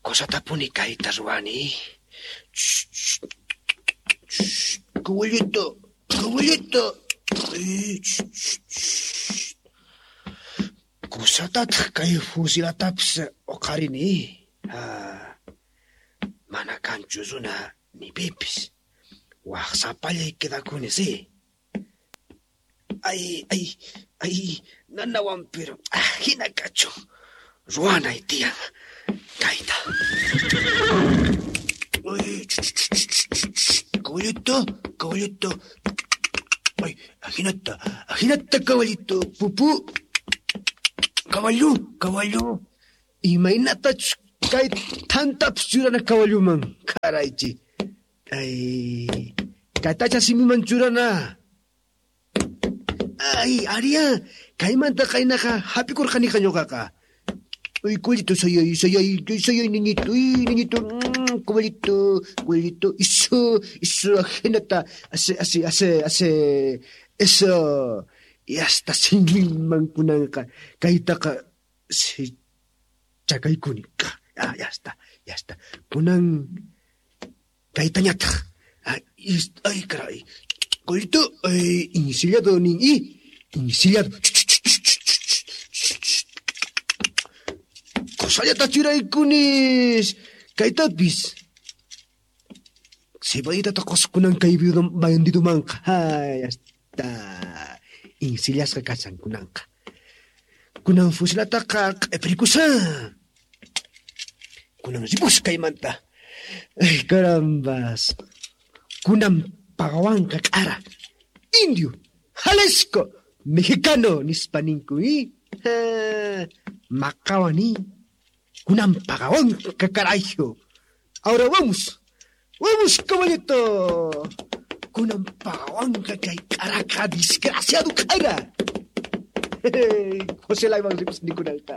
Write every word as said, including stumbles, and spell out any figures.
Cosatapuni kayta ruwani. Caballito, caballito. Kusatataq kay fusilatapis uqarini. Ha. Mana kanchu runa ni pipis. Waq sapallay quedakuni, sí. Ay, ay, ay, nanawan pero ah, hina kachun. Ruwanay tiyan kayta. Uy, caballito, caballito. Ay, ajinata, ajinata, caballito. Pupu. Caballo, caballo. Imaynatachus kay thantapis churana caballoman. Karaychi. Ay, kaytacha simiman churana. Ay, aria, kaymanta qaynaqa hap'ikurqaniqa ñuqaqa. Uy, caballito, sayay, sayay, sayay, niñito, uy, niñito, mm, caballito, caballito, eso, eso, ajinata, así, así, así, así, eso. Y hasta siminman kunanqa, kaytaqa, si chakaykuni, ah, ya está, ya está. Kunan, kaytañataq, ay, ay, caray, caballito, ay, ensillado nin, y, ensillado. Qusallata churaykunis, kaytapis. Cebollitata quskunan kay bandidumanqa. Ay, hasta insillasqa kashan kunanqa. Kunan fusilataqa q'ipirikusa. Kunan ripus kaymanta. Ay, carambas. Kunan pagawanqa k'ara. Indio, Jalisco, mexicano, nispa ninku, y maqawani. Kunan pagawanqa carajo. Ahora vamos. Vamos, caballito. Kunan pagawanqa kay k'araka desgraciado k'ara. José Laiman ripus nikunanqa.